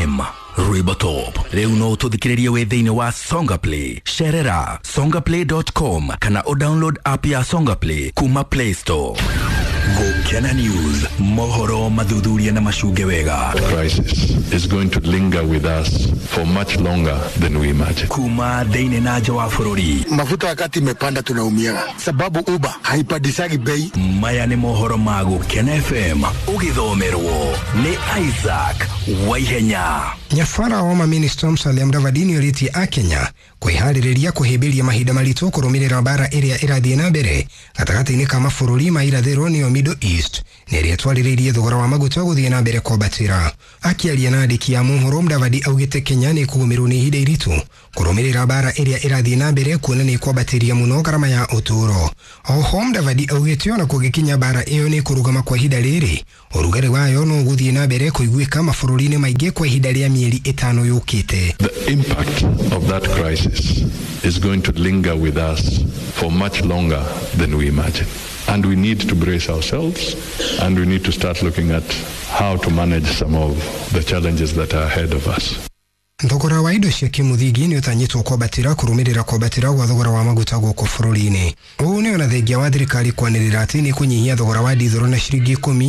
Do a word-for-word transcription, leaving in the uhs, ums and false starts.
F M, rwĩmbo top. Rĩu no ũtũthikĩrĩrie wĩ thĩinĩ wa Songa Play. Cerera songaplay dot com kana ũdownload app ya Songa Play kuma Play Store. Gũkena News, mohoro mathuthuria na macunge wega. Crisis is going to linger with us for much longer than we imagine. Kuma thĩinĩ na nja wa bũrũri. Mafuta wakati imepanda tunaumiaga, sababu Uber haipandishagi bei. Maya nĩ mohoro ma Gũkena F M, ũgĩthomerwo nĩ Isaac Waihenya. Nyabara wa maminista Musalia Mudavadi nĩorĩtie akenya kwĩharĩrĩria kũhĩmbĩria mahinda maritũ kũrũmĩrĩra mbara ĩrĩa ĩrathiĩ na mbere gatagatĩ-inĩ ka mabũrũri ma irathĩro, nĩyo Middle East, na ĩrĩa ĩtwarĩrĩirie thogora wa maguta gũthiĩ na mbere kwambatĩra. Akĩaria na andĩki a mohoro, Mudavadi augĩte Kenya nĩ ĩkũgũmĩrwo nĩ ihinda iritũ kũrũmĩrĩra mbara ĩrĩa ĩrathiĩ na mbere, kuona nĩ ĩkwambatĩria mũno ngarama ya ũtũũro. Oho Mudavadi augĩte ona kũngĩkinya mbara ĩyo nĩ kũrũgama kwa ihinda rĩrĩ, ũrugarĩ wayo no ũgũthiĩ na mbere kũiguĩka mabũrũri-inĩ maingĩ kwa ihinda rĩa mĩeri ĩtano yũkĩte. The impact of that crisis is going to linger with us for much longer than we imagine. And we need to brace ourselves and we need to start looking at how to manage some of the challenges that are ahead of us. Thogora wa indo cia kĩmũthingi nĩ ũtanyĩtwo kwambatĩra kũrũmĩrĩra kwambatĩra gwa thogora wa maguta gũkũ bũrũri-inĩ. Ũũ nĩ ona thengia wa thirikari kwanĩrĩra atĩ nĩ kũnyihia thogora wa ndithũrũ na ciringi ikũmi.